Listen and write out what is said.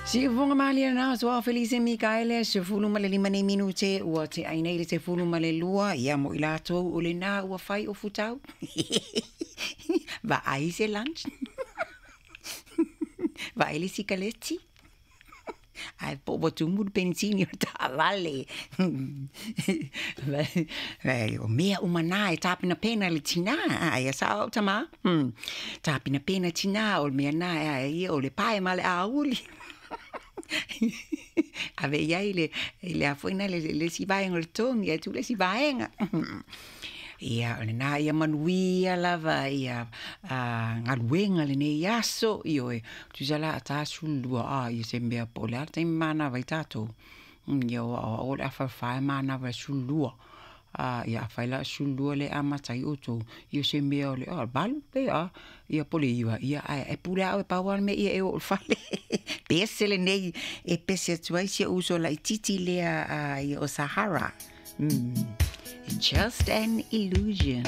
Siufofoga malie lena aso Felise Mikaele, 15 nei minute ua te'a nei le 12. Ia mo i latou o lenā ua fai o futau vaai se lunch, vaai le sikaleti, ae po ua tumu le penisini o le taavale. O mea uma na e tapenapena e le tinā, ae sa'o a'u tamā. Tapenapena tinā, o le mea na e ia o le pae ma le auli ave i ai le le a foi na le isi vaega o le togi ae tuu le isi vaega. Ia o lenā, ia manuia lava ia galuega lenei aso. Ioe, tusa la a ta 12 a ia se mea po o le a le taimi manava ai tatou. Ia o o le afa 4 manava le 12. Ia afai la 12 le amata ai outou, ia se mea o le 8 pe a ia po o le 9, ia ae e pule lava oe, pau lava le mea ia e oo i le fale. Pese lenei e pese atu ai si ou uso laitiiti lea, ia o Sahara. Just an illusion.